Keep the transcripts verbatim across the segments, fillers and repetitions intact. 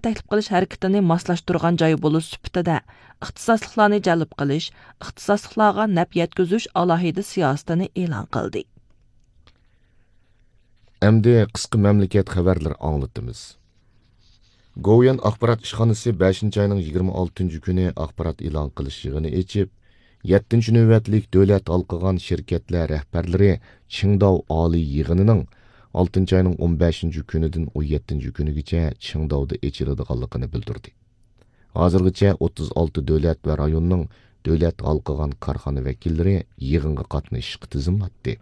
تەكلىپ قىلىش ھەرىكىتىنى ماسلاشتۇرغان جاي بولۇش سۈپىتىدە، ئىختىساسلىقلارنى جەلپ قىلىش، ئىختىساسلىقلارغا نەپ يەتكۈزۈش ئالاھىدە سىياسىتىنى ئېلان قىلدى. ئەمدى قىسقا مەملىكەت خەۋەرلىرى ئاڭلىتىمىز. گوۋۇيۈەن ئاخبارات ئىشخانىسى بەشىنچى ئاينىڭ يىگىرمە ئالتىنچى كۈنى ئاخبارات ئېلان قىلىش يىغىنى ئېچىپ، يەتتىنچى نۆۋەتلىك دۆلەت ھالقىغان شىركەتلەر رەھبەرلىرى چىڭداۋ ئالىي يىغىنىنىڭ ئالتىنچى ئاينىڭ ئون بەشىنچى كۈنىدىن ئون يەتتىنچى كۈنىگىچە چىڭداۋدا ئېچىلىدىغانلىقىنى بىلدۈردى. ھازىرغىچە ئوتتۇز ئالتە دۆلەت ۋە رايوننىڭ دۆلەت ھالقىغان كارخانا ۋەكىللىرى يىغىنغا قاتنىشىشقا تىزىملاتتى.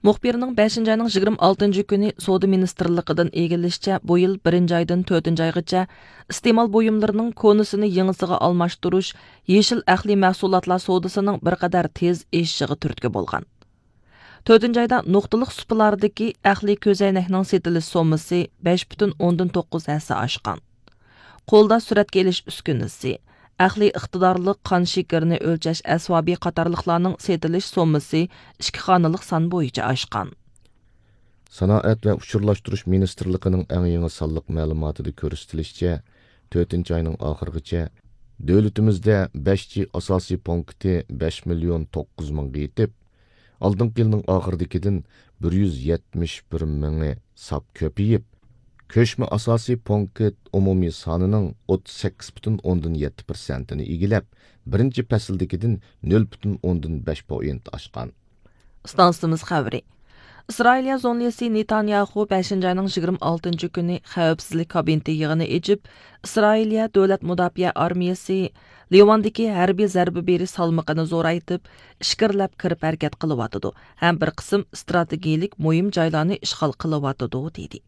مۇخبىرنىڭ بەشىنچى ئاينىڭ يىگىرمە ئالتىنچى كۈنى سودا مىنىستىرلىقىدىن ئىگىلىشىچە، بۇ يىل بىرىنچى ئايدىن تۆتىنچى ئايغىچە ئىستېمال بۇيۇملىرىنىڭ كونىسىنى يېڭىسىغا ئالماشتۇرۇش، يېشىل ئەقلىي مەھسۇلاتلار سودىسىنىڭ بىر قەدەر تېز ئېشىشىغا تۈرتكە بولغان. تۆتىنچى ئايدا نۇقتىلىق سۇپىلاردىكى ئەقلىي كۆزەينەكنىڭ سېتىلىش سوممىسى بەش پۈتۈن ئوندىن توققۇز ھەسسە ئاشقان. قولدا سۈرەتكە ئېلىش ئۈسكۈنىسى، ئەقلىي ئىقتىدارلىق قان شېكىرىنى ئۆلچەش ئەسۋابى قاتارلىقلارنىڭ سېتىلىش سوممىسى ئىككى خانىلىق سان بويىچە ئاشقان. سانائەت ۋە ئۇچۇرلاشتۇرۇش مىنىستىرلىقىنىڭ ئەڭ يېڭى سانلىق مەلۇماتىدا كۆرسىتىلىشىچە، تۆتىنچى ئاينىڭ ئاخىرىغىچە دۆلىتىمىزدە بەش جى ئاساسىي پونكىتى بەش مىليون توققۇز مىڭغا يېتىپ، ئالدىنقى يىلنىڭ ئاخىرىدىكىدىن بىر يۈز يەتمىش بىر مىڭى ساپ كۆپىيىپ، كۆچمە ئاساسىي پونكىت ئومۇمىي سانىنىڭ ئوتتۇز سەككىز پۈتۈن ئوندىن يەتتە پىرسەنتىنى ئىگىلەپ، بىرىنچى پەسىلدىكىدىن نۆل پۈتۈن ئوندىن بەش پوينت ئاشقان. ئىستانسىمىز خەۋىرى. ئىسرائىلىيە زۇڭلىسى نېتانياخۇ بەشىنچى ئاينىڭ يىگىرمە ئالتىنچى كۈنى خەۋپسىزلىك كابىنېتى يىغىنى ئېچىپ، ئىسرائىلىيە دۆلەت مۇداپىئە ئارمىيەسى لىۋاندىكى ھەربىي زەربە بېرىش سالمىقىنى زورايتىپ، ئىچكىرىلەپ كىرىپ ھەرىكەت قىلىۋاتىدۇ ھەم بىر قىسىم ئىستراتېگىيىلىك مۇھىم جايلارنى ئىشغال قىلىۋاتىدۇ، دېدى.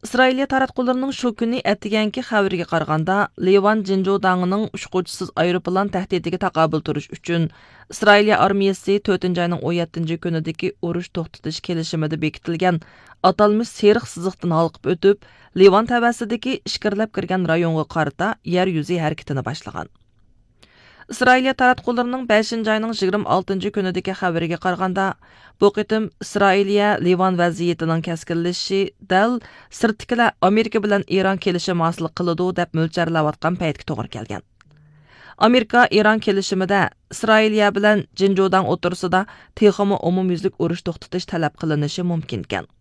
ئىسرائىلىيە تاراتقۇلىرىنىڭ شۇ كۈنى ئەتىگەنكى خەۋىرىگە قارىغاندا، لىۋان جىنجۇداڭىنىڭ ئۇچقۇچىسىز ئايروپىلان تەھدىتىگە تاقابىل تۇرۇش ئۈچۈن، ئىسرائىلىيە ئارمىيەسى تۆتىنچى ئاينىڭ ئون يەتتىنچى كۈنىدىكى ئۇرۇش توختىتىش كېلىشىمىدە بېكىتىلگەن ئاتالمىش سېرىق سىزىقتىن ھالقىپ ئۆتۈپ، لىۋان تەۋەسىدىكى ئىچكىرىلەپ كىرگەن رايونغا قارىتا يەر يۈزى ھەرىكىتىنى باشلىغان. ئىسرائىلىيە تاراتقۇلىرىنىڭ بەشىنچى ئاينىڭ يىگىرمە ئالتىنچى كۈنىدىكى خەۋىرىگە قارىغاندا، بۇ قېتىم ئىسرائىلىيە لىۋان ۋەزىيىتىنىڭ كەسكىنلىشىشى دەل سىرتتىكىلەر ئامېرىكا بىلەن ئىران كېلىشىمى ھاسىل قىلىدۇ دەپ مۆلچەرلەۋاتقان پەيتكە توغرا كەلگەن. ئامېرىكا ئىران كېلىشىمىدە ئىسرائىلىيە بىلەن جىنجۇداڭ ئوتتۇرىسىدا تېخىمۇ ئومۇميۈزلۈك ئۇرۇش توختىتىش تەلەپ قىلىنىشى مۇمكىنكەن.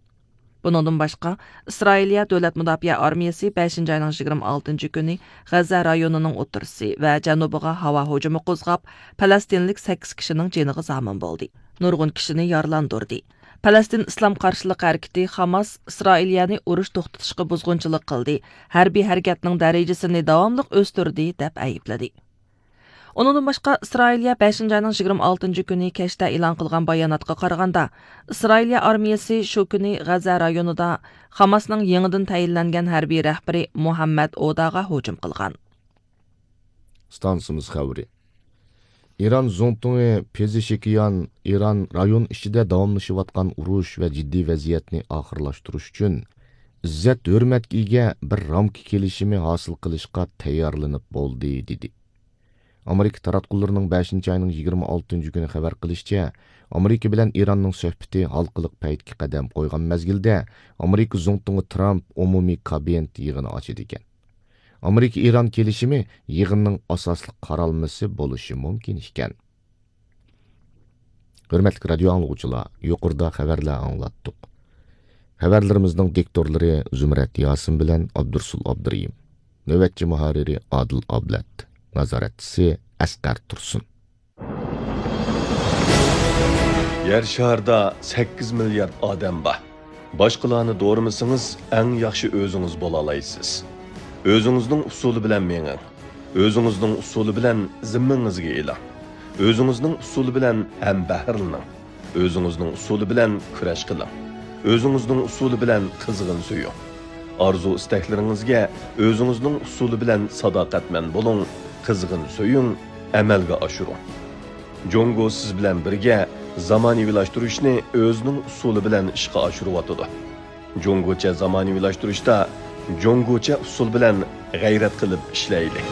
بۇنىڭدىن باشقا، ئىسرائىلىيە دۆلەت مۇداپىئە ئارمىيەسى بەشىنچى ئاينىڭ يىگىرمە ئالتىنچى كۈنى غەززە رايونىنىڭ ئوتتۇرىسى ۋە جەنۇبىغا ھاۋا ھۇجۇمى قوزغاپ، پەلەستىنلىك سەككىز كىشىنىڭ جېنىغا زامىن بولدى، نۇرغۇن كىشىنى يارىلاندۇردى. پەلەستىن ئىسلام قارشىلىقى ھەرىكىتى خاماس ئىسرائىلىيەنى ئۇرۇش توختىتىشقا بۇزغۇنچىلىق قىلدى، ھەربىي ھەرىكەتنىڭ دەرىجىسىنى داۋاملىق ئۆستۈردى، دەپ ئەيىبلىدى. ئۇنىڭدىن باشقا، ئىسرائىلىيە بەشىنچى ئاينىڭ يىگىرمە ئالتىنچى كۈنى كەچتە ئېلان قىلغان باياناتقا قارىغاندا، ئىسرائىلىيە ئارمىيەسى شۇ كۈنى غەززە رايونىدا خاماسنىڭ يېڭىدىن تەيىنلەنگەن ھەربىي رەھبىرى مۇھەممەد ئوداغا ھۇجۇم قىلغان. ئىستانسىمىز خەۋىرى. ئىران زۇڭتۇڭى پېزېشكىيان ئىران رايون ئىچىدە داۋاملىشىۋاتقان ئۇرۇش ۋە جىددىي ۋەزىيەتنى ئاخىرلاشتۇرۇش ئۈچۈن ئىززەت ھۆرمەتكە ئىگە بىر رامكا كېلىشىمى ھاسىل قىلىشقا تەييارلىنىپ بولدى، دېدى. ئامېرىكا تاراتقۇلىرىنىڭ بەشىنچى ئاينىڭ يىگىرمە ئالتىنچى كۈنى خەۋەر قىلىشىچە، ئامېرىكا بىلەن ئىراننىڭ سۆھبىتى ھالقىلىق پەيتكە قەدەم قويغان مەزگىلدە، ئامېرىكا زۇڭتۇڭى ترامپ ئومۇمىي كابىنېت يىغىنى ئاچىدىكەن. ئامېرىكا ئىران كېلىشىمى يىغىننىڭ ئاساسلىق قارالمىسى بولۇشى مۇمكىن ئىكەن. ھۆرمەتلىك رادىيو ئاڭلىغۇچىلار، يۇقىرىدا خەۋەرلەر ئاڭلاتتۇق. خەۋەرلىرىمىزنىڭ دىكتورلىرى زۇمرەت ياسىن بىلەن ئابدۇرسۇل ئابدۇرېھىم. نۆۋەتچى مۇھەررىرى ئادىل ئابلەت. نازارەتچىسى ئەسقەر تۇرسۇن. يەر شارىدا سەككىز مىليارد ئادەم بار. باشقىلارنى دورىمىسىڭىز، ئەڭ ياخشى ئۆزىڭىز بولالايسىز. ئۆزىڭىزنىڭ ئۇسۇلى بىلەن مېڭىڭ. ئۆزىڭىزنىڭ ئۇسۇلى بىلەن زىممىڭىزگە ئېلىڭ. ئۆزىڭىزنىڭ ئۇسۇلى بىلەن ھەمبەھىرلىنىڭ. ئۆزىڭىزنىڭ ئۇسۇلى بىلەن كۈرەش قىلىڭ. ئۆزىڭىزنىڭ ئۇسۇلى بىلەن قىزغىن سۆيۈڭ. ئارزۇ-ئىستەكلىرىڭىزگە ئۆزىڭىزنىڭ ئۇسۇلى بىلەن ساداقەتمەن بولۇڭ، قىزغىن سۆيۈڭ، ئەمەلگە ئاشۇرۇڭ. جۇڭگو سىز بىلەن بىرگە زامانىۋىلاشتۇرۇشنى ئۆزىنىڭ ئۇسۇلى بىلەن ئىشقا ئاشۇرۇۋاتىدۇ. جۇڭگوچە زامانىۋىلاشتۇرۇشتا جۇڭگوچە ئۇسۇل بىلەن غەيرەت قىلىپ ئىشلەيلى.